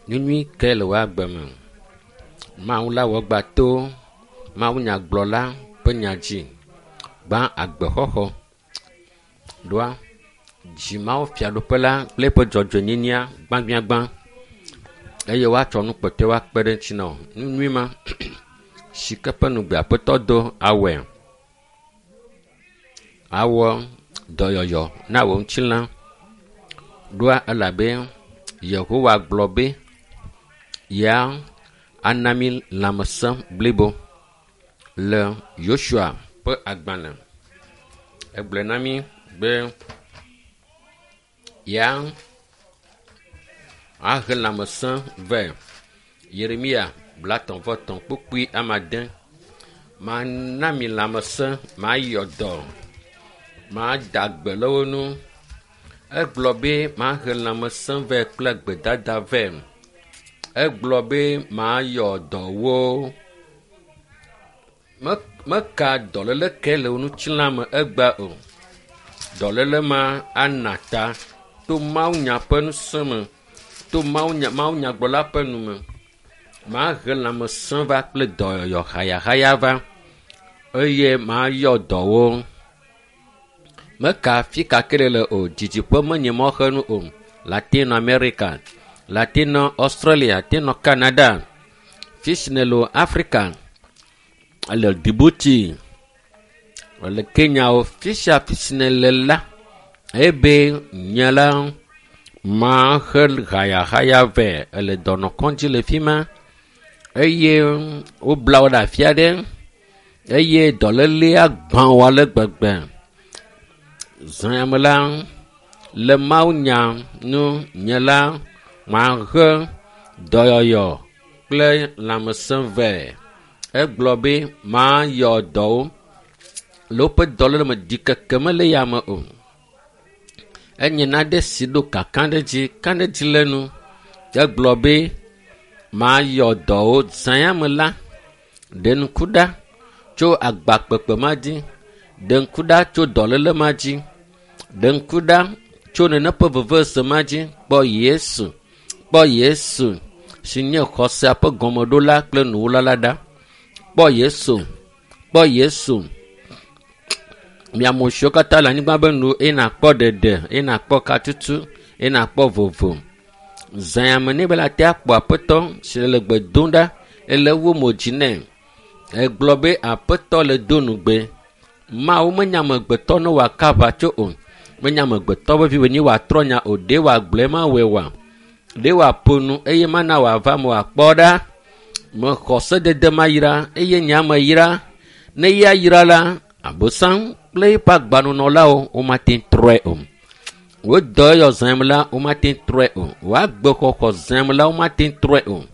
Nu nyui kae le wò agbe me? Mawu la wɔ gba to mawunyagblɔla ƒe nya dzi. Gbã agbexɔxɔ ɖoa dzi Mawu fiaɖuƒe la kple eƒe dzɔdzɔenyenyea gbãgbiagbã eye woatsɔ nu kpɔtɔewo akpe ɖe eŋuti na wò. Nu nyui ma si ke ƒe ŋugbe Aƒetɔ do awɔe. Awɔ dɔyɔyɔ na wò ŋutilã ɖoa elabe Yehowa gblɔ be yea ana mí lãmesẽ blibo le Yosua ƒe agbalẽ. Egblɔe na mí be yea ahe lãmesẽ vɛ. Yeremia 33 kpukpui ame ade. Mana mi lãmesẽ, mayɔ dɔ, mada gbe le wo ŋu. Egblɔ be mahe lãmesẽ vɛ kple gbedada vɛ. Egblɔ be mayɔ dɔwo. Meka dɔléle ke le wò ŋutilã me egbea o. Dɔléle ma ana ta to mawunya ƒe ŋusẽ me, to mawunya mawunyagblɔla ƒe nu me. Mahe lãmesẽ va kple dɔyɔyɔ hayahaya va eye mayɔ dɔwo. Meka afi ka ke le o, didiƒe menye mɔxenu o. Latino America, Latino Australia, Latino Canada, fi si nèle o Africa, ele Djibouti, ele Kenya o, fi sia fi si nèle la, ebe nye la mahe hayahaya vɛ. Ele dɔnɔkɔdzi le fi ma eye wobla wo ɖe afi aɖe eye dɔlélea gbã wo ale gbegbe. Zã ya me la, le mawunya nu nye la mahe dɔyɔyɔ kple lãmesẽ vɛ. Egblɔ be mayɔ dɔwo le woƒe dɔléle me ɖikeke mele ya me o. Enye nane si ɖo kakaɖedzi kaɖedzi le nu. Egblɔ be mayɔ dɔwo zã ya me la, ɖe ŋku ɖa tso agbakpekpe ma dzi, ɖe ŋku ɖa tso dɔléle ma dzi, ɖe ŋku ɖa tso nene ƒe vevese ma dzi. Kpɔ Yesu, kpɔ Yesu si nye xɔsea ƒe gɔmeɖola kple nuwula la ɖa. Kpɔ Yesu, kpɔ Yesu. Mi ame siwo katã le anyigba be nu eye nakpɔ ɖeɖe, eye nakpɔ katutu, eye nakpɔ vovo. Zã ya me ne be la te akpɔ Aƒetɔ si le gbe dom ɖa ele wu mo dzi nɛ. Egblɔ be Aƒetɔ le do nugbe. Mawu menye amegbetɔ ne wòaka aʋatso o. Menye amegbetɔ ƒe vi wònye wòatrɔ nya o. Ɖe wòagblɔe ma wɔe oa? Ɖe wòaƒo nu eye mana wòava me wòakpɔ ɖa? Mexɔ sedede ma yra eye nye ame yra. Ne ya yra la, Abosam kple eƒe agbanunɔlawo womate ŋu trɔe o. Wo dɔyɔyɔ zãm la, womate ŋu trɔe o. Wo agbexɔxɔ zãm la, womate ŋu trɔe o.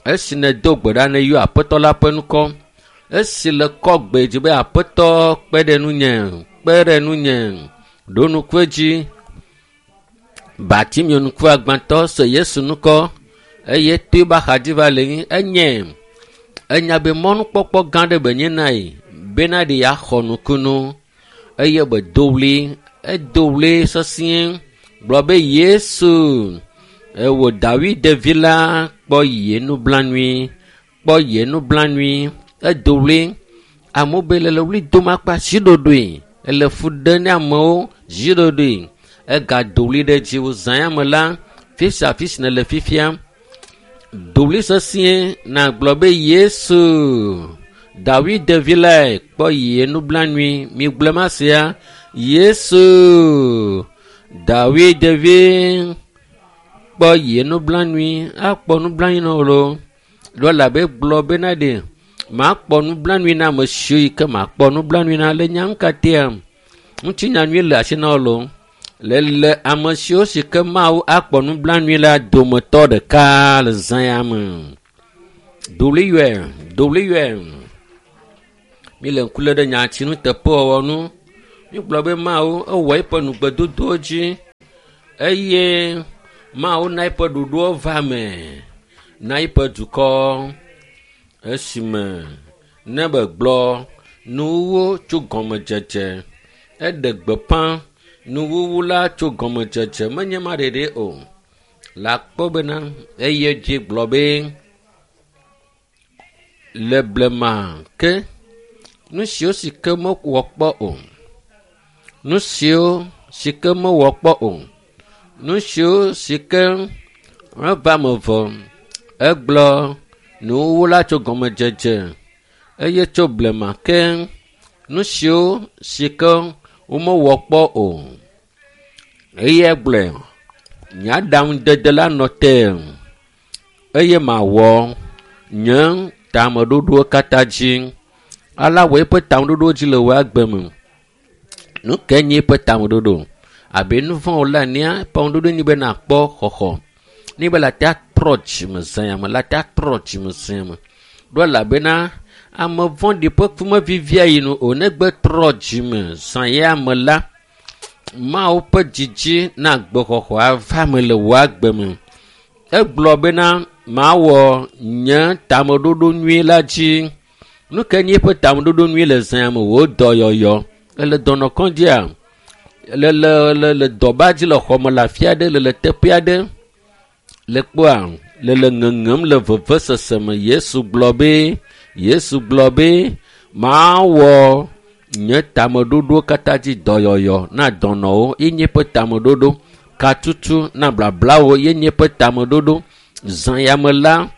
Esi nèdo gbe ɖa nèyɔ Aƒetɔ la ƒe ŋkɔ, esi le kɔ gbe dzi be Aƒetɔ kpe ɖe ŋunye, kpe ɖe ŋunye, ɖo ŋku edzi. Bartimeo ŋkuagbãtɔ se Yesu ŋkɔ eye to eƒe axadzi va le anyi. Enye enya be mɔnukpɔkpɔ gã aɖe be nye na ye bena ɖe yeaxɔ nukunu eye be do ɣli, edo ɣli sesĩe gblɔ be Yesu, ewò Dawid vi la kpɔ ye nublanui, kpɔ ye nublanui. Edo ɣli. Amewo be le ɣli dom akpa ziɖoɖoe, ele fu ɖem ne amewo ziɖoɖoe. Egado ɣli ɖe dzi wò zã ya me la, fi sia fi si nèle fifia, do ɣli sesĩe nàgblɔ be Yesu, Dawid vi lae kpɔ ye nublanui. Migblɔe ma sia, Yesu, Dawid vi kpɔ ye nublanui. Akpɔ nublanui na wò loo. Ɖo elabe gblɔ bena ɖe makpɔ nublanui na ame siwo yi ke makpɔ nublanui na le nya ŋkatea. Ŋutinya nyui le asi na wò loo. Le le ame siwo si ke Mawu akpɔ nublanui la dometɔ ɖeka le zã ya me. Do ɣli yɔe, do ɣli yɔe. Mi le ŋku lém ɖe nyati nuteƒewɔwɔ ŋu. Mígblɔ be Mawu ewɔ eƒe nugbedodowo dzi eye Mawu na eƒe ɖoɖowo va me na eƒe dukɔ esime ne begblɔ nuwuwu tso gɔmedzedze. Eɖe gbeƒã nuwuwu la tso gɔmedzedze menye ma ɖeɖe o. Le akpɔ bena eye dzi gblɔ be le blema ke nu siwo si ke mewɔ kpɔ o, nu siwo si ke mewɔ kpɔ o, nu siwo si ke meva me vɔ egblɔ nuwuwu la tso gɔmedzedze eye tso blema ke nu siwo si ke womewɔ kpɔ o eye egblɔe nye aɖaŋudede la nɔ te eye mawɔ nye tameɖoɖowo katã dzi. Ala wɔ eƒe tameɖoɖo dzi le wò agbe me. Nu kae nye eƒe tameɖoɖo? Abe nu vɔ̃ wòle enea, eƒe tameɖoɖo nye be nakpɔ xɔxɔ. Ne be le ate atrɔ dzime zã ya me, le ate atrɔ dzime zã ya me. Ɖo elabena ame vɔ̃ɖi ƒe ku mevivia yi nu o. Negbe trɔ dzime zã ya me la, Mawu ƒe dzidzi na agbexɔxɔ ava me le wò agbe me. Egblɔ bena mawɔ nye tameɖoɖo nyui la dzi. Nu ke nye eƒe tameɖoɖo nyui le zã me? Wò dɔyɔyɔ. Ele dɔnɔkɔdzia? Le le le le dɔba dzi le xɔme le afi aɖe le le teƒe aɖe le kpɔa le le ŋeŋem le vevesese me. Yesu gblɔ be Yesu gblɔ be mawɔ nye tameɖoɖo katã dzi dɔyɔyɔ na dɔnɔwo ye nye eƒe tameɖoɖo. Katutu na blablawo ye nye eƒe tameɖoɖo. Zã ya me la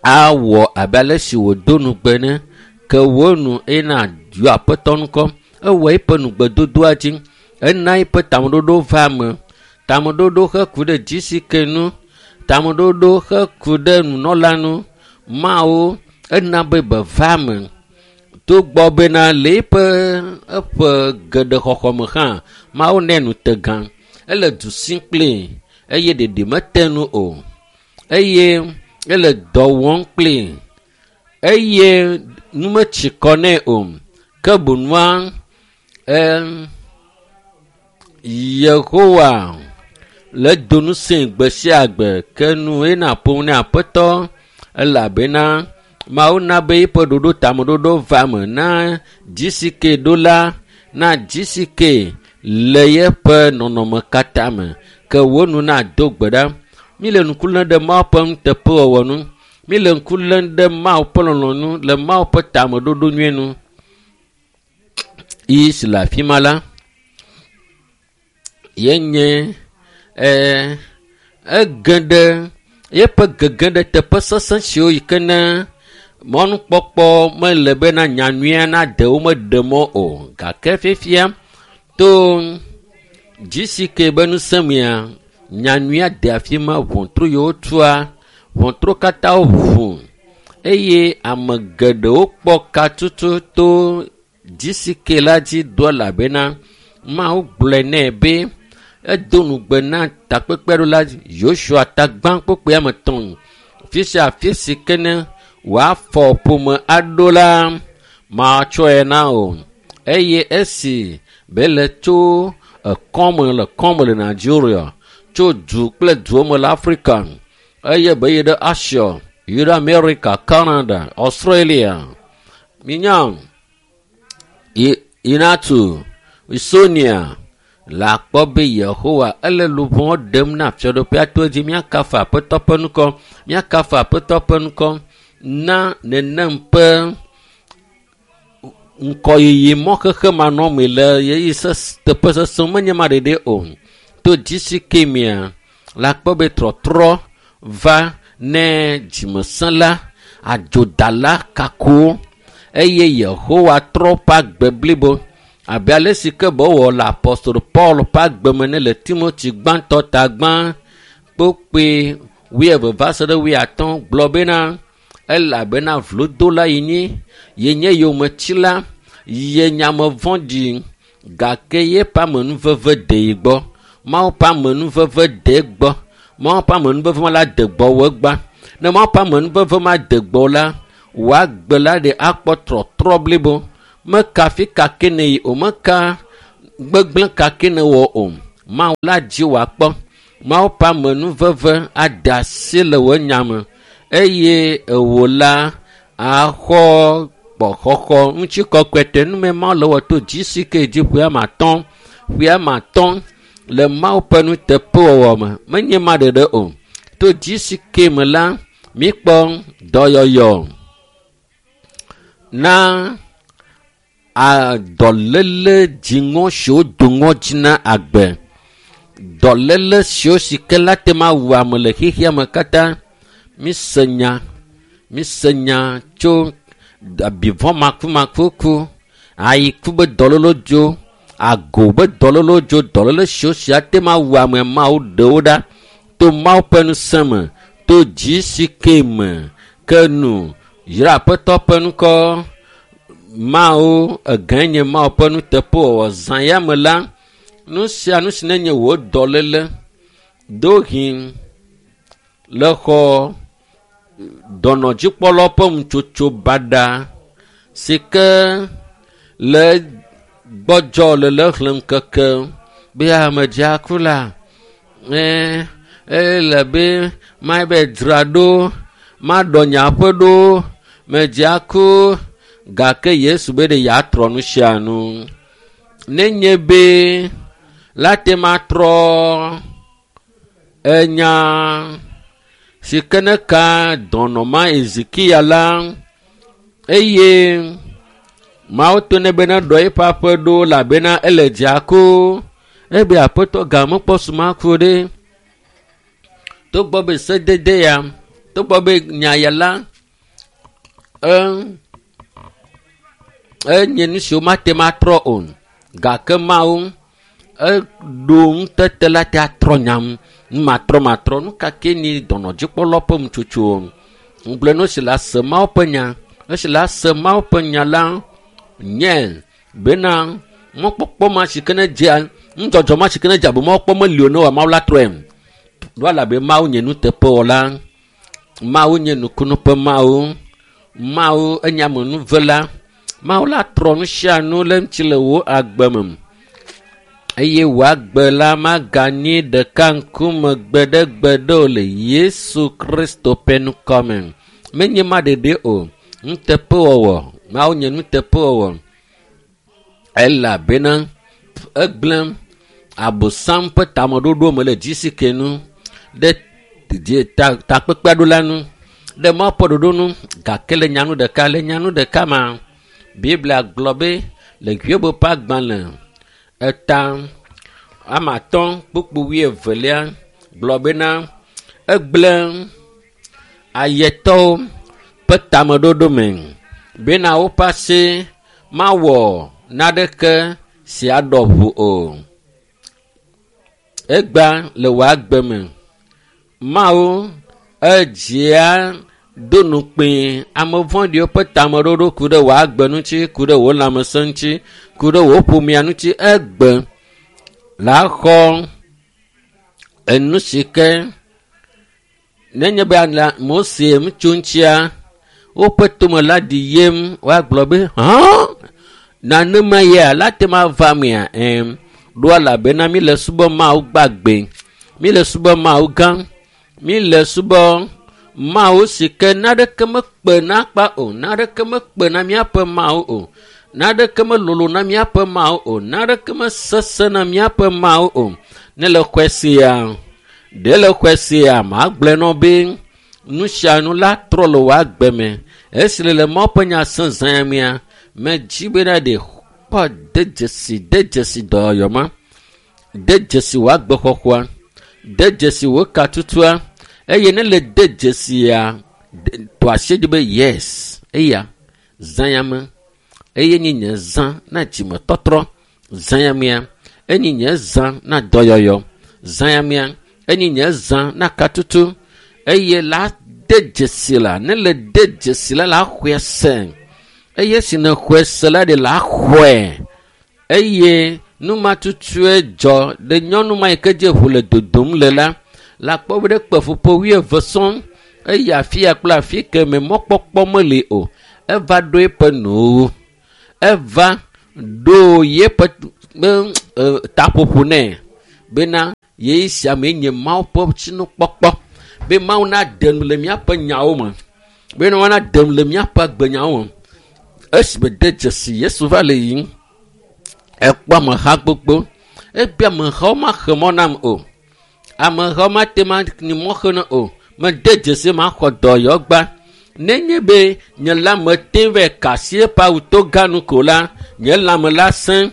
awɔ abe ale si wòdo nugbe ne ke wò nu eye na yɔ aƒetɔ ŋkɔ. Ewɔ eƒe nugbedodoa dzi. Ena eƒe tameɖoɖo va eme. Tameɖoɖo heku ɖe dzisike nu. Tameɖoɖo heku ɖe nunɔla nu. Mawu ena be beva me. Togbɔ bena le eƒe eƒe geɖe xɔxɔ me hã, Mawu nɛ nutegã. Ele du sim kplii eye ɖeɖi mete nu o. Eye ele dɔ wɔm kplii eye nu metsi kɔ nɛ o. Ke boŋua e Yehowa le do ŋusẽ gbe sia gbe ke nu ena ƒom ne aƒetɔ elabena Mawu na be eƒe ɖoɖo tameɖoɖo va me na dzisike ɖo la na dzisike le yeƒe nɔnɔme katã me ke wò nu nado gbe ɖa. Mi le ŋku lém ɖe Mawu ƒe nuteƒewɔwɔ nu. Mi le ŋku lém ɖe Mawu ƒe lɔlɔ̃nu le Mawu ƒe tameɖoɖo nyui nu. Yi si le afi ma la ye nye e ege ɖe yeƒe gege ɖe teƒe sesẽ siwo yi ke ne mɔnukpɔkpɔ mele bena nyanyuia nade wo meɖe mɔ o gake fifia to GCK be ŋusẽ mea nyanyuia de afi ma ʋɔtru yiwo tua ʋɔtru katã ʋu eye ame geɖewo kpɔ katutu to GCK la dzi do elabena Mawu gblɔe nɛ be edo nugbe na takpekpeɖola Yosua tagbã kpokpoe ame tɔ̃ fi sia afi si ke ne wòafɔ ƒome aɖo la matsɔe na o eye esi be le tso ekɔme le kɔme le Nigeria tso du kple duwo me le Afrika eye be yi ɖe Asia yi ɖe Amerika, Canada, Australia minya Inatu Sonia le akpɔ be Yehowa ele luʋɔ ɖem na fiaɖuƒea to edzi míakafu aƒetɔ ƒe ŋkɔ míakafu aƒetɔ ƒe ŋkɔ na nenem ƒe ŋkɔyiyi mɔ xexe manɔmee le ɣeyiɣi teƒe sesẽ menye ma ɖeɖe o. To GCK mea le akpɔ be trɔtrɔ va ne dzimesẽla, adzodala kakowo eye Yehowa trɔ ƒe agbe blibo abe ale si ke be wɔ le apostol Paul ƒe agbe me ne le Timothy gbãtɔ ta gbã kpokpoe wuieve va se ɖe wuiatɔ̃ gblɔ bena elabena vlodola yi nyi ye nye yometsila ye nye ame vɔ̃ɖi gake yeƒe amenuveve de yi gbɔ. Mawu ƒe amenuveve de egbɔ. Mawu ƒe amenuveve ma la de gbɔwò egbea. Ne Mawu ƒe amenuveve ma de gbɔwò la, wò agbe la ɖe akpɔ trɔtrɔ blibo. Meka fi ka ke ne yi o, meka gbegblẽ ka ke ne wɔ o. Mawu la dzi wòakpɔ. Mawu ƒe amenuveve ade asi le wò nya me eye ewò la axɔ kpɔxɔxɔ ŋutikɔkɔe te nume Mawu le wɔ to GCK dzi ƒe ame atɔ̃ ƒe ame atɔ̃ Le Mawu ƒe nuteƒewɔwɔ me, menye ma ɖeɖe o. To GCK me la, míkpɔ dɔyɔyɔ na dɔléle dziŋɔ siwo do ŋɔdzi na agbe. Dɔléle siwo si ke la te ma wu ame le xexea me katã. Mise nya, mise nya tso abivɔ makumakuku, ayiku be dɔléle dzo, ago be dɔléle dzo, dɔléle siwo si ate ma wu ame Mawu ɖe wo ɖa to Mawu ƒe ŋusẽ me, to GCK me ke nu yra Aƒetɔ ƒe ŋkɔ. Mawu egãe nye Mawu ƒe nuteƒewɔwɔ. Zã ya me la, nu sia nu si nenye wò dɔléle ɖewohĩ le xɔ dɔnɔdzikpɔlawo ƒe ŋutsotso baɖa si ke le gbɔdzɔ le le xlẽm keke be ame dzea ku la, ele be mabe dzra ɖo, maɖɔ nye aƒe ɖo, medzea ku, gake Yesu be ɖe yeatrɔ nu sia nu. Nenye be la te ma trɔ enya si ke ne ka dɔnɔ ma Ezekiya la, eye Mawu to nɛ be ne ɖɔ eƒe aƒe ɖo elabena ele dzea ku. Ebe Aƒetɔ ga mekpɔ su ma ku ɖe. Togbɔ be sedede ya, togbɔ be nya ya la, enye nu siwo mate ma trɔ o. Gake Mawu eɖo ŋutete la te atrɔ nyam. Nu matrɔ matrɔ. Nu ka ke nye dɔnɔdzikpɔlawo ƒe nutsotso? Ŋugblẽ nu si la se Mawu ƒe nya. Esi la se Mawu ƒe nya la nye bena mɔkpɔkpɔ ma si ke ne dzea, nudzɔdzɔ ma si ke ne dze abe mɔkpɔkpɔ meli o ne wɔ Mawu la trɔe. Ɖo elabe Mawu nye nuteƒewɔla. Mawu nye nukunu ƒe Mawu. Mawu enye amenuvela. Mawu la trɔ nu sia nu le ŋuti le wò agbe me. Eye wò agbe la maganyi ɖeka ŋkume gbeɖegbeɖe o le Yesu Kristo ƒe ŋkɔ me. Menye ma ɖeɖe o. Nuteƒewɔwɔ. Mawu nye nuteƒewɔwɔ. Elabena egblẽ Abosam ƒe tameɖoɖo me le GCK nu ɖe takpekpea ɖo la nu ɖe Mawu ƒe ɖoɖo nu gake le nyanu ɖeka le nyanu ɖeka ma Biblia gblɔ be le Hiob ƒe agbalẽ eta ame atɔ̃ kpukpu wuievelia gblɔ bena egblẽ ayetɔwo ƒe tameɖoɖo me bena woƒe asi mawɔ naneke si aɖɔ ʋu o. Egba le wò agbe me. Mawu edzia do nukpee ame vɔ̃ɖiwo ƒe tameɖoɖo ku ɖe wò agbe ŋuti, ku ɖe wò lãmesẽ ŋuti, ku ɖe wò ƒomea ŋuti. Egbe la xɔ enu si ke nenye be Mose ŋutsu ŋutia, woƒe tome la ɖi yem woagblɔ be hã nanema ya la te ma va mea ɛm ɖo elabena mi le subɔ Mawu gbagbe, mi le subɔ Mawu gã, mi le subɔ Mawu si ke naneke mekpe na kpa o, naneke mekpe na míaƒe Mawu o, naneke melolo na míaƒe Mawu o, naneke mesesẽ na míaƒe Mawu o. Ne le xɔe sia, ɖe le xɔe sia, magblɔe nɔ be nu sia nu la trɔ le wò agbe me. Esi le le Mawu ƒe nya sẽ zã mea, medzi bena ɖe kpɔ de dzesi, de dzesi dɔyɔyɔ ma, de dzesi wò agbexɔxɔa, de dzesi wò katutua, eye ne le de dzesia, tɔ asi dzi be yes, eya zã ya me, eye nye nye zã na dzimetɔtrɔ, zã ya mea, enye nye zã na dɔyɔyɔ, zã ya mea, enye nye zã na katutu, eye la de dzesi la, ne le de dzesi la, la xɔe se. Eye si ne xɔe se la ɖe la xɔe. Eye nu ma tutue dzɔ ɖe nyɔnu ma yi ke dze ʋu le dodom le la, la kpɔ be ɖe kpe ƒuƒo wuieve sɔŋ eye afi ya kple afi ke me mɔkpɔkpɔ meli o. Eva ɖo eƒe nuwo. Eva ɖo yeƒe taƒoƒo nɛ bena yeyi sia mee nye Mawu ƒe tsinukpɔkpɔ be Mawu naɖe nu le míaƒe nyawo me, bena woanaɖe nu le míaƒe agbenyawo me. Esime de dzesi Yesu va le yiyim, ekpɔ ameha gbogbo. Ebe amehawo maxe mɔ nam o. Amehawo mate ma ni mɔ xe ne o. Mede dzesi maxɔ dɔyɔgba. Nenye be nye lãme te vɛ kasi eƒe awu to ganu ko la, nye lãme la sẽ.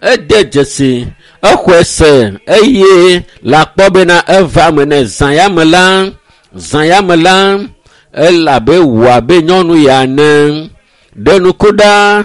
Ede dzesi, exɔe se eye le akpɔ bena eva me ne zã ya me la, zã ya me la, elabe wò abe nyɔnu ya ene. Ɖe nuku ɖa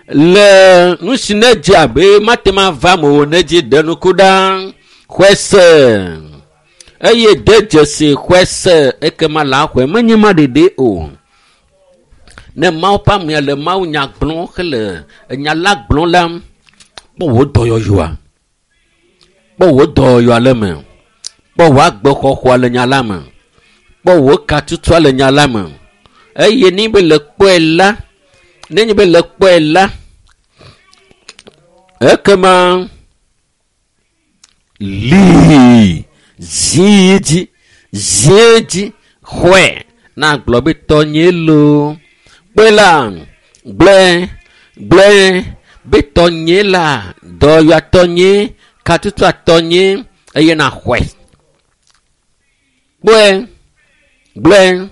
le nu si ne dze abe mate ma va me o ne dzi ɖe nuku ɖa. Xɔe se eye de dzesi xɔe se ekema la xɔe menye ma ɖeɖe o. Ne Mawu ƒe amea le Mawu nya gblɔm hele enya la gblɔm la, kpɔ wò dɔyɔyɔa. Kpɔ wò dɔyɔyɔa le eme. Kpɔ wò agbexɔxɔa le nya la me. Kpɔ wò katutua le nya la me. Eye ne be le kpɔe la, nenye be le kpɔe la, ekema lii zi dzi zi dzi xɔe na gblɔ be tɔnye loo. Kpɔe la gblɔe gblɔe be tɔnye la dɔyɔa tɔnye katutua tɔnye eye na xɔe. Kpɔe gblɔe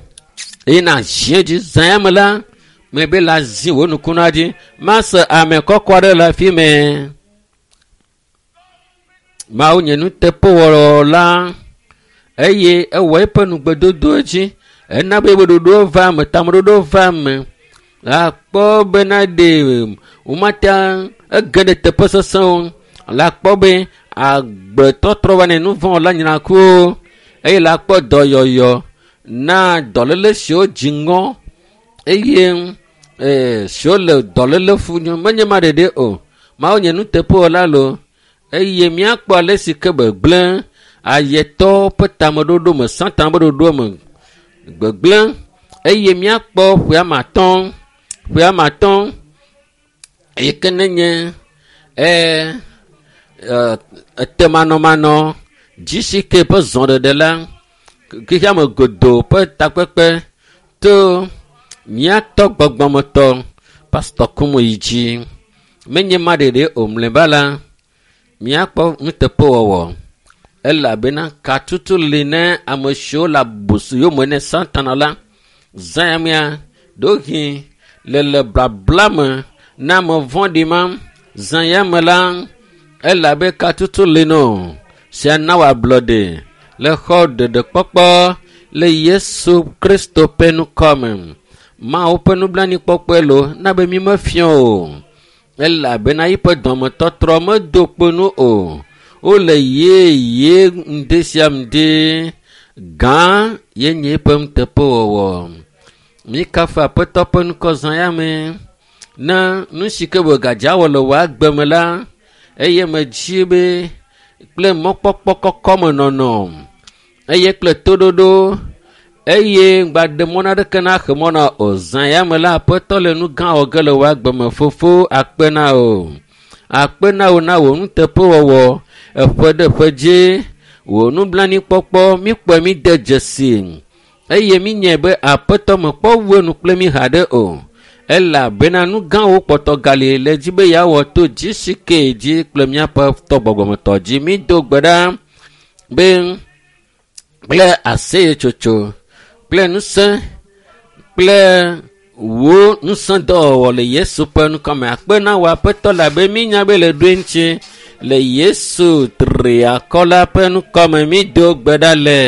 eye na zi dzi zã ya me la mebe la zi wò nukuna dzi mase ame kɔkɔ aɖe le afi mɛ. Mawu nye nuteƒewɔla eye ewɔ eƒe nugbedodo dzi. Ena be eƒe ɖoɖo va eme, tameɖoɖo va eme. Akpɔ bena ɖe womate ege ɖe teƒe sesẽwo. Le akpɔ be agbetɔtrɔ va ne nu vɔ̃ la nyina kuwo eye le akpɔ dɔyɔyɔ na dɔléle siwo dzi ŋɔ eye ee siwo le dɔléle fu menye ma ɖeɖe o. Mawu nye nuteƒewɔla lo eye míakpɔ ale si ke gbegblẽ ayetɔwo ƒe tameɖoɖo me, Satan ƒe ɖoɖo me gbegblẽ eye míakpɔ ƒe ame atɔ̃, ƒe ame atɔ̃ yi ke nenye ee etemanɔmanɔ GCK ƒe zɔɖeɖe la xexeame godoo ƒe takpekpe to míatɔ gbɔgbɔmetɔ Pastor Kumuyi dzi. Menye ma ɖeɖe o mlɔeba la, míakpɔ nuteƒewɔwɔ elabena katutu li ne ame siwo le aboso yome ne Satana la. Zã ya mea, ɖewohĩ le le blabla me na ame vɔ̃ɖi ma. Zã ya me la, elabe katutu li no sia na wò ablɔɖe le xɔ ɖeɖekpɔkpɔ le Yesu Kristo ƒe ŋkɔ me. Mawu ƒe nublanuikpɔkpɔe lo na be mi mefia o elabena yiƒe dɔmetɔtrɔ medo kpo nu o. Wole yeye ŋdi sia ŋdi. Gã ye nye eƒe nuteƒewɔwɔ. Mikafu Aƒetɔ ƒe ŋkɔ zã ya me. Na nu si ke wògadza wɔ le wò agbe me la, eye medzi be kple mɔkpɔkpɔ kɔkɔ me nɔnɔ eye kple toɖoɖo eye ŋgbaɖe mɔ naɖeke naxe mɔ na o. Zã ya me la, Aƒetɔ le nu gã wɔ ge le wò agbe me. Fofo akpe na wò. Akpe na wò na wò nuteƒewɔwɔ eƒe ɖe ƒe dzi. Wò nublanuikpɔkpɔ míkpɔe míde dzesi eye mínyae be Aƒetɔ mekpɔ wu enu kple mí haɖe o. Elabena nu gãwo kpɔtɔ gali le dzi be yeawɔ to GCK dzi kple míaƒe tɔ gbɔgbɔmetɔ dzi. Mído gbe ɖa be kple aseyetsotso kple ŋusẽ kple wò ŋusẽdɔwɔwɔ le Yesu ƒe ŋkɔ me. Akpe na wò Aƒetɔ labe mínya be le ɖoe ŋuti le Yesu triakɔ la ƒe ŋkɔ me mído gbe ɖa le.